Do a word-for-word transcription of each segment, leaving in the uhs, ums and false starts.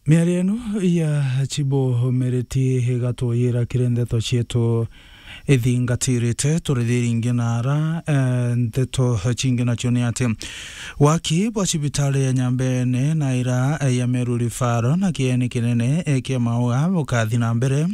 Miario ino ya Chibo Mereti igatuyira kiri ndeto cietu ithingatirite. Turithirie ingi na ara, eh, ndeto cingi nacio ni ati waki bwa cibitari ya Nyambene na ira, eh, ya Meru Referral na kieni kinene, eh, kia Maua bukathi na mbere.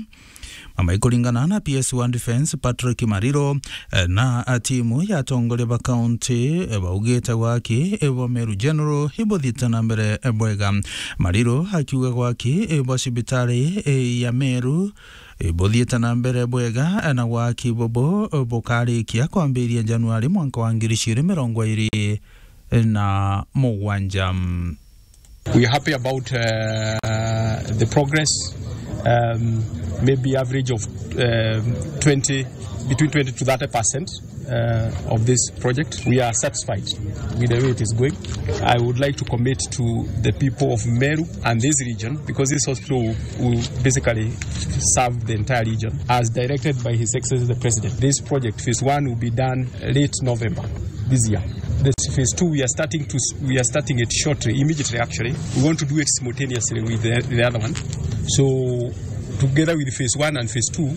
Mama, ikuringana na P S one Defence Patrick Mariro, eh, na, eh, timu ya atongoria ba kaunti, eh, baugite waki, eh, bwa Meru General ibuthiite na mbere, eh, bwega. Mariro akiuga waki, eh, bwa cibitari, eh, ya Meru, eh, buthiite na mbere bwega, eh, na waki bubu, eh, bukarikia kwambiria Januari mwanka wa ngiri igiri mirongo iri na mugwanja. We are happy about, uh, the progress, um, maybe average of, um, twenty, between twenty to thirty percent, uh, of this project. We are satisfied with the way it is going. I would like to commit to the people of Meru and this region, because this hospital will, will basically serve the entire region, as directed by His Excellency the President. This project, phase one, will be done late November this year. This phase two, we are starting to s-, we are starting it shortly, immediately actually. We want to do it simultaneously with the, the other one. So, together with phase one and phase two,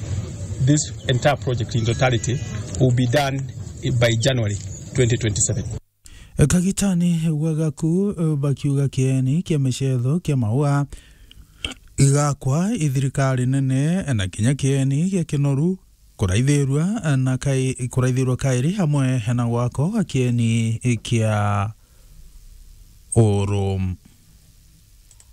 this entire project in totality will be done by January twenty twenty-seven. Kagitani gwa Gaku, eh, bakiuga kieni kia micetho kia Maua igakwa i thirikari nene, na kinya kieni gia Kinoru kuraithirua, eh, na kai-, kuraithirua kairi hamwe na gwako ga kieni kia Uru.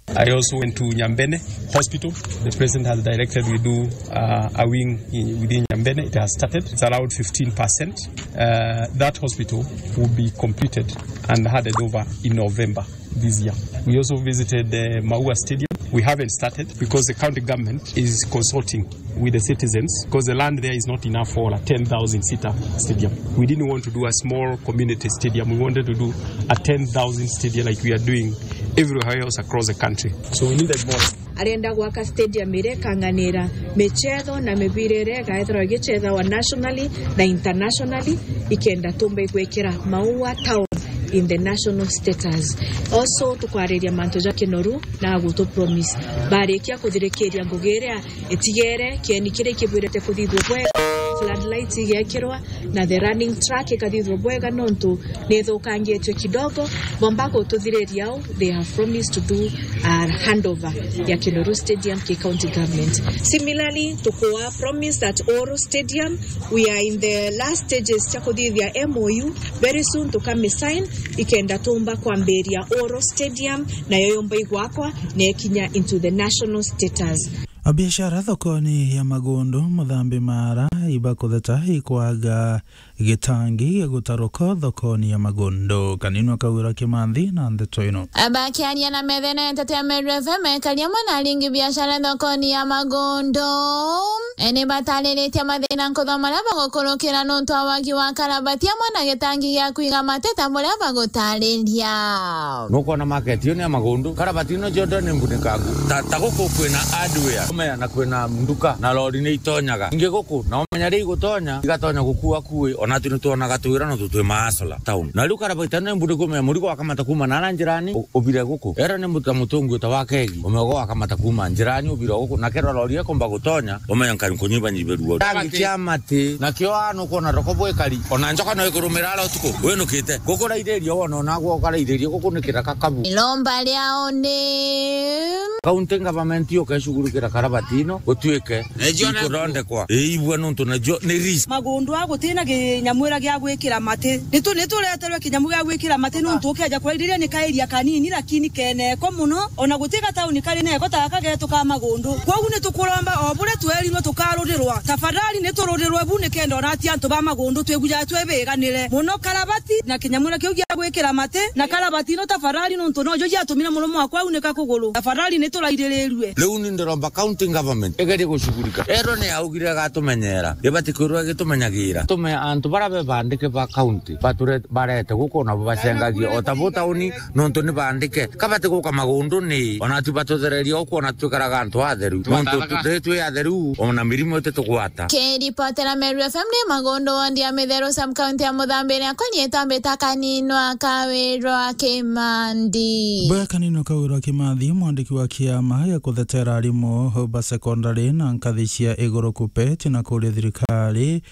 I also went to Nyambene Hospital. The president has directed we do, uh, a wing in, within Nyambene. It has started. It's around fifteen percent. Uh, that hospital will be completed and handed over in November this year. We also visited the Maua Stadium. We haven't started because the county government is consulting with the citizens, 'cause the land there is not enough for a ten thousand seater stadium. We didn't want to do a small community stadium. We wanted to do a ten thousand stadium like we are doing everywhere else across the country. So we needed more. Arenda gwaka stadium iria ikanganira michetho na mibira iria igaethirwa igichethawa nationally na internationally, ikenda tumba igwikira Maua town in the national status. Also, tukwariria mantu ja Kinoru na agutu promise. Barikia kuthirikiria ngugi iria itigere, kieni kiria ikibwirite kuthithua bwega, floodlights igekirwa, na the running track ikathithua bwega, nontu ni ithukangitue kidogo. Bomba gututhiriria au, they have promised to do a handover ya Kinoru Stadium ki county government. Similarly, tukua promise that Uru Stadium, we are in the last stages cia kuthithia M O U. Very soon tukamisign, ikenda tumba kwambiria Uru Stadium, nayo yumba igwakwa na ikinya into the national status. Abiashara thokoni ya Magundu, Muthambi Mara, ibakutheta ikwaga gitangi gia gutaruka thokoni ya Magundu. Kaninwa Kawira Kimanthi na ndeto ino. Bakiaria na methene nteto ya Meru F M, ekari amwe na aringi biashara thokoni ya Magundu, e, ni batariritie mathina nkuthoma maria bagukurukira nontu wa wagi wa karabati amwe na gitangi gia kwiga mateta buria bagutariria. Nukwona market iyo ni ya Magundu, karabati ino cionthe ni mbunikangu. Ta, ta guku kwina hardware, umenya na kwina nduka, na lori ni itonyaga. Ingi guku, na umenya ri igutonya, igatonya gukua kui, ona tu ni twonaga twira no tutwi maasula town. Na riu karabati ino ni mbuniku, umenya murigo wakamata kuma nara njirani, u-, ubire guku. Era ni muta mutungi uta wa kegi, umenya ugo wakamata kuma njirani, ubire guku, na kethira lori ikomba gutonya, umenya nkari kunyibanyibe ruo. Tangi cia mati, na kio aa nukwona roko bwikari, ona njoka no ikurumira ara utuku, winukite. Guku raithiria wona, ona gwo ukaraithiria, guku ni kiraka kabu. Iromba riao ni county government yo keshugurukira karabati ino, gutuike ikuthondekwa. Iibua nontu nacio ni risk. Magundu a gutina kinyamwira gia gwikira mati. Nitu-, nitureterwe kinyamu gia gwikira mati nontu ukeja kuraithiria ni kairia kanini, lakini keneko muno. Ona guti gatauni kari neko ta gaka getu ka Magundu. Kwogu nitukuromba o buria twerirwe tukarurirwa. Tafadhali nitururirwe bu nikenda ona ati antu ba Magundu twigujaga twi biganire. Muno karabati na kinyamwira kiu gia gwikira mati, na karabati ino tafadhali nontu nojo ciatumire murume wakwa aunika kuguru. Tafadhali niturairirirue. Riu ni ndiromba county government igerie gucugurika. Ero ni yaugire igatumenyera. Ibati kwirwa igitumenyagira. Tume antu Bara be bandike ba county, bature-, barete guku nabo bacengagia, o ta bo tauni, nontu ni bandike. Kabati guka magunduni, ona tu batuthereria guku, ona twikaraga antu atheru. Nontu tutiri twi atheru, ona mirimu ititugwata. Kiripotera Meru F M ni Magundu, wondi ya Mitheru, sub county ya Muthambi, ni akonieta mbita kaninwa Kawirwa Kimandi. Bwe kaninwa Kawirwa Kimathi, mwandiki wa kiama gia kuthetera arimu ba secondary na nkathi cia iguru KUPPET, na kuria thirikari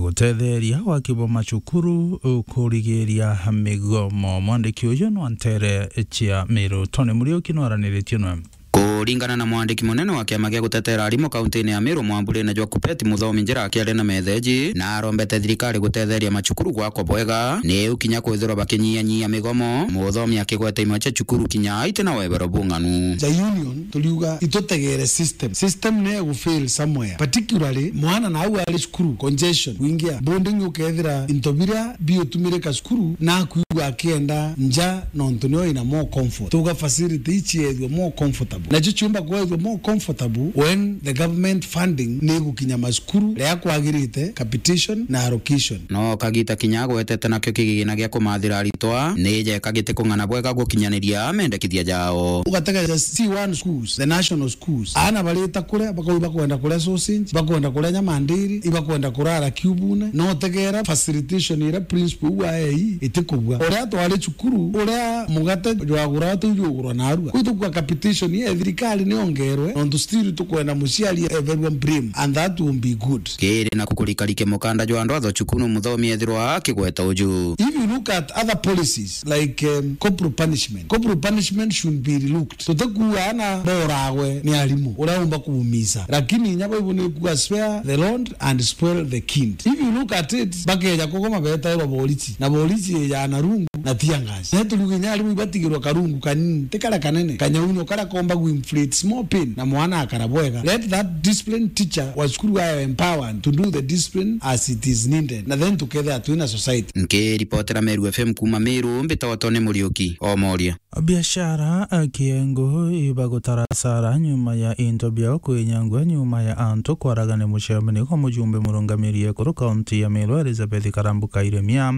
gutetheria waki bwa macukuru kurigiria migomo. Mwandiki uyu nwa ntere cia Miru. Tony Muriuki nwaraniritie nwe. Kuringana na mwandiki munene wa kiama gia gutetera arimu kauntini ya Miru, mwamburine jwa KUPPET, Muthomi Njira akiaria na metheji, na arombete thirikari gutetheria macukuru gwakwa bwega, niu kinya kwithirwa bakinyia-nyia migomo, Muthomi akigweta imwe cia cukuru kinya aiti na webero bung'anu. Ja union, turiuga itutegere system. System ni igufail somewhere. Particularly, mwana na au ari cukuru, congestion, kuingia boarding, ukethira into biria biutumirika cukuru, na akuigua akienda nja, nontu nio ina more comfort. Tuga facility ici ethwe more comfortable. Nacio ciumba kwethwa more comfortable when the government funding ni igukinya macukuru ria kwagirite, capitation na allocation. No kagita kinya agwetete nakio kigigina gia kumathira aritwa, ni jeka gitikung'ana bwega gukinyaniria mendekithia jao. Ugatega ja C one schools, the national schools. Aana barita kuria, bakauga bakwenda kuria sausage, bakwenda kuria nyama ndiri, ibakwenda kurara kiubune. No tegera facilitation iria principal uu aei itikubua. Uria twari cukuru, uria mugate jwagura ati jugurwa narua. Kwi tukua capitation ya thirikari niongerwe, nontu still tukwenda muciari eberwa brim, and that will be good. Kiri na kukurikarike mukanda jwa andu atho cukuru, Muthomi ethirwa akigweta uju. If you look at other policies, like, um, corporal punishment, corporal punishment should be relooked. Tutikuuga ana boragwe ni arimu uria umba kuumisa, lakini inya Bible ni ikuuga, "Spare the rod and spoil the kind." If you look at it, bakeja kugoma betairwa borisi, na borisi ijaa na rungu na tear gas. Na turiuga inya arimu ibatigirwa karungu kanini, ti karia kanene, kanyaunyo karia komba gu inflict small pain, na mwana akara bwega. Let that disciplined teacher wa cukuru ayo empowered to do the discipline as it is needed, na then tukethira twina society. Nkiripotera Meru F M kuuma Meru, mbitagwa Tony Muriuki, Omoria. Biashara, eh, Kiengu ibagutara hasara nyuma ya into biao kwinyangwa nyuma ya antu kwaragania mucemanio kwa mujumbe murungamiri ekuru kaunti ya Meru Elizabeth Karambu Kairemia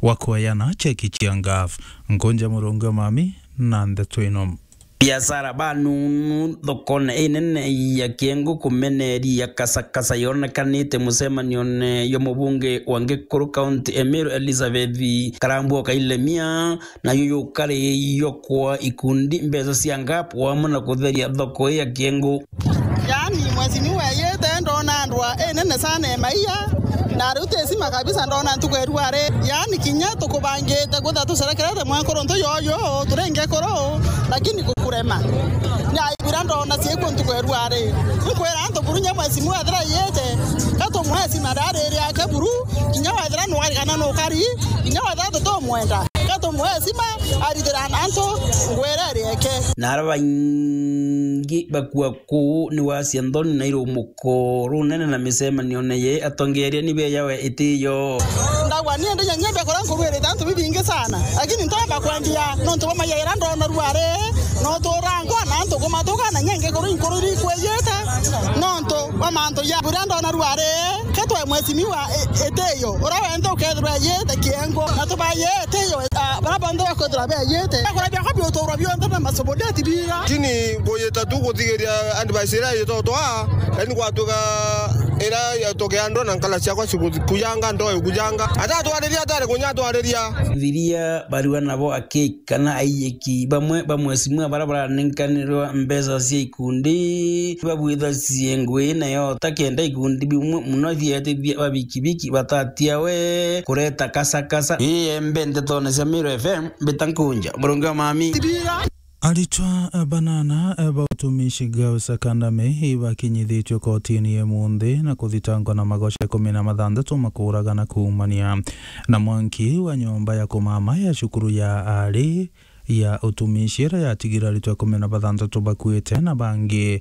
wa kweana cheki cia ngaf. Nkunja murungi wa mami na ndeto ino. Biashara banunu thokone inene ya Kiengu kumeneria kasakasa yonekanite mucemanione jwa mubunge wa Ngikuru kaunti ya Meru Elizabeth Karambu Kairemia, nayo yukari yokwa ikundi mbeca cia ngap wamwe na kutheria thoko ya Kiengu. Yaani, mwezi ni weyite, ndona ndwa inene sana ya maia, na riu tisima kabisa, ndona ntuku ya ruari. Yaani, kinya tukubangite gwitha tucerekerete mwenkuru ntu yoyo, turenge kuru, lakini gukurema. Na ibira ndona ciekwo ntuku ya ruari. Nkwira antu buru nya mwezi ni wethira yite, ka tumwesi na ndari iri yake buru, kinya wethira nwarigana nukari, kinya wethira tutumwenda. Ka tumwesi ma arithira na antu ngwira iri yake. Na ara baingi bakua kuu ni wacia nthoni na irumuko runene na micemanione ye atongeria ni beyawe itiyo. Ndagwa ni ndi nyanyia mbia kuria nkurwirite antu bibingi sana, lakini ntomba kwendia nontu bwa mayaira ndona ruari, no turangwa na antu kumatuka na nyenge kuru inkuru irikwiyite, nontu bwa mantu ya buria ndona ruari. Ketwe mwesimiwa e-, itiyo, uria wenthe ukethirwa yite Kiengu, na tubaye itiyo, a, baria bonthe bakwithirwa beyite. Bakura biakwa biuturwa bionthe na masubudeti biga. Lakini nguyita tu guthigiria advice iria itotwa, yani gwatuka iria yatokea ndo na nkala ciakwa cikuyanga ndo ikujanga. Atatwariria atari kunya atwariria. Thiria barua nabo aki kana aiyeki bamwe ba mwesimua baria baranenkanirwa mbeca cia ikundi babwithacie ngui nayo ta kenda ikundi bimwe muno bietithia ba bikibiki batatia we kureta kasakasa. Ii embe ntetone cia Meru F M, mbita Nkunja murungi wa mami. Aritwa banana ba utumishi Girls Academy ibakinyithitue kotini imunthi na kuthitangwa na magosha ikumi na mathanthatu ma kuuragana kuumania na mwanki wa nyomba ya kumama ya cukuru ya ari ya utumishi iria yatigira aritwa ikumi na bathanthatu bakuite na bangi,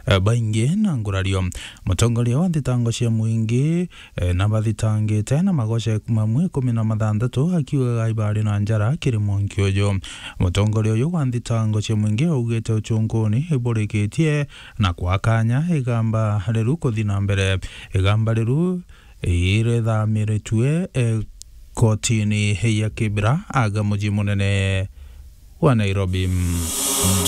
eh, baingi na ngurario. Mutongoria wa thitango cia muingi, eh, na bathitangite na magosha mamwe ikumi na mathanthatu akiugaga ibari na njara kiri mwanki uju. Mutongoria uyu wa thitango cia muingi augite uchunkuni iburikitie na kwa kanya igamba riru kuthi na mbere. Igamba riru irethamiritue, eh, kotini ya Kibera aga muji munene wa Nairobi.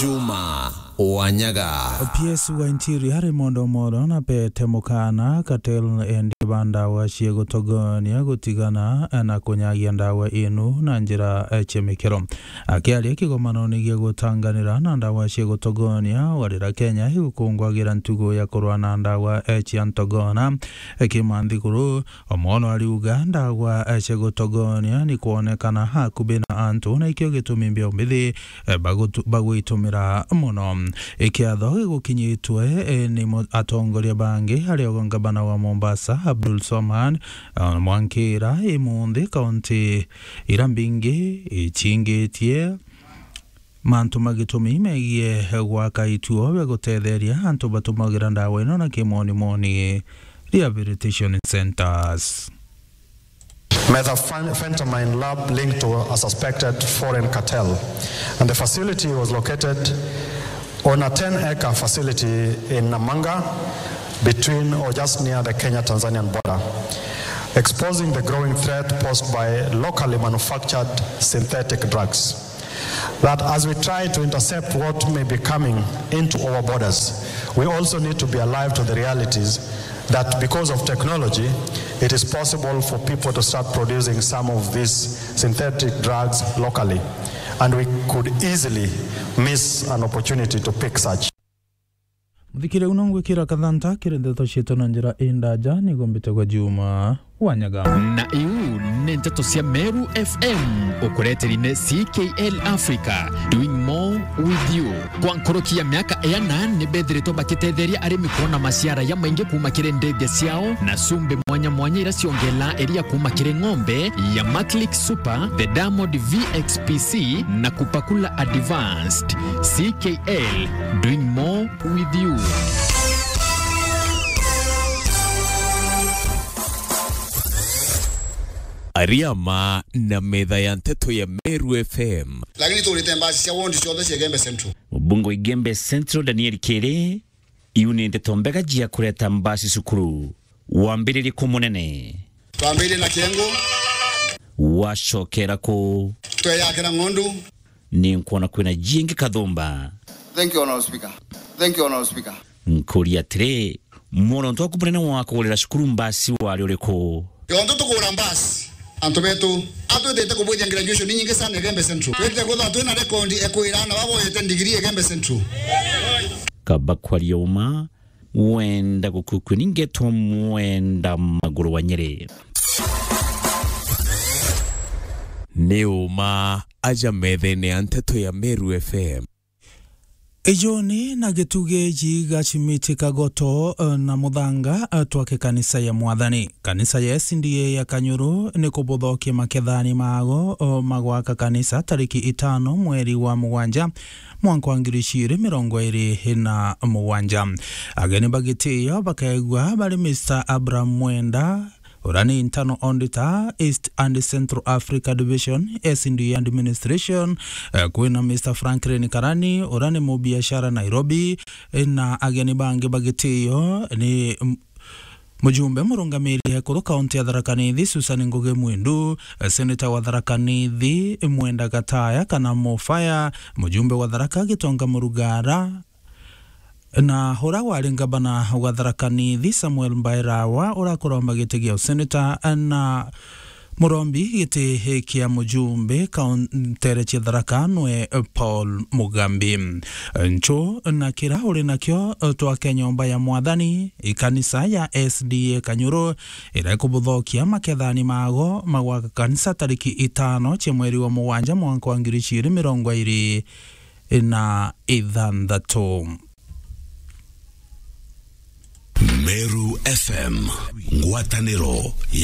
Juma Wanyaga. P S wa Interior Raymond Omolo na pete mukana cartel endia ba ndawa cia gutogonia gutigana na kunyagia ndawa inu na njira, eh, cia mikero. Akiaria kigomanoni gia gutanganira na ndawa cia gutogonia, warira Kenya igukungwagira ntugo ya kurwa na ndawa, eh, cia ntogona, eh, kimanthiguru. Omolo ariuga ndawa, eh, cia gutogonia ni kwonekana hakubi na antu, na ikio gitumi mbio mbithi, eh, bagutu-, bagwitumira mono. Ikiatho gigukinyitwe, eh, ni mo-, atongoria bangi, ari o ngavana wa Mombasa, Abdul Swamad, eh, Mwankira, imunthi kaunti ira mbingi ichingitie mantu ma gitumi megie gwaka ituo bia gutetheria antu batumagira ndawa ino na kimonimoni rehabilitation centers. Methamphetamine lab linked to a suspected foreign cartel, and the facility was located on a ten acre facility in Namanga, between or just near the Kenya-Tanzanian border, exposing the growing threat posed by locally manufactured synthetic drugs. That as we try to intercept what may be coming into our borders, we also need to be alive to the realities that because of technology, it is possible for people to start producing some of these synthetic drugs locally, and we could easily miss an opportunity to pick such. Muthikire uno ngwikira kathanta kiri ndeto cietu na njira indaja, nigo mbitagwa Juma Wanyaga. Na iu ni nteto cia Meru F M, ukureteri ni C K L Africa, doing more with you. Kwa nkuruki ya miaka iana, ni bethiritwe bakitetheria arimi kuona maciara ya maingi kuuma kiri ndege ciao na cumbi mwanya mwanya ira ciongela iria kuuma kiri ng'ombe ya Maclick Super, the Diamond V X P C na Kupakula Advanced. C K L, doing more with you. Ariama na metha ya nteto ya Meru F M. Lakini turite mbasi cia ward ciothe cia Igembe Central. Mubunge wa Igembe Central, Daniel Kiri, iu ni nteto mbega cia kureta mbasi cukuru. Wambiririe ku munene. Twambiririe na Kiengu. Wacokera ku? Tweyakira ng'ondu. Ni nkwona kwina jingi kathumba. Thank you, Honorable Speaker. Thank you, Honorable Speaker. Nkuria atiri, muronto waku munene wa kugurira cukuru mbasi wari uriku? Yonto tukugura mbasi, antu betu, atwitite kubwithia graduation inyingi sana Igembe Central. Twitite kwithirwa twina rekondi ekwira na baboyete ndigiri Igembe Central. Kaba kwaria uma, wenda gukukua ni ngetwa mwenda maguru wa Nyeri. Ni uma aja methene ya nteto ya Meru F M. Ijoni na gitugi ji gacimiti kagoto, eh, na muthanga, eh, twake kanisa ya Mwathani. Kanisa ya S D A ya Kanyuru ni kubuthokia makethani mago, eh, magwaka kanisa tariki itano mweri wa mugwanja, mwanka wa ngiri ijiri mirongo iri na mugwanja. Ageni ba gitio bakaegua bari Mister Abraham Mwenda, uria ni Internal Auditor, East and Central Africa Division, S D A Administration, eh, kwina Mister Franklin Karani, uria ni mubiashara Nairobi, eh, na ageni bangi ba gitio ni, m-, mujumbe murungamiri ekuru kaunti ya Tharaka Nithi, Susan Ngugi Mwindu, eh, seneta wa Tharaka Nithi, Mwenda Gataya kana Mofaya, mujumbe wa Tharaka Gitonga Murugara, na uria wari ngavana wa Tharaka Nithi, Samuel Mbairawa, urakuromba giti gia useneta, na murombi giti kia mujumbe kauntere cia Tharaka nwe Paul Mugambi. Nchu na kira uri nakio, twake nyomba ya Mwathani, ikanisa ya S D A Kanyuru, iria ikubuthokia makethani mago magwaka kanisa tariki itano cia mweri wa mugwanja mwanka wa ngiri ijiri mirongo iri na ithanthatu. Meru F M, ngwataniro ya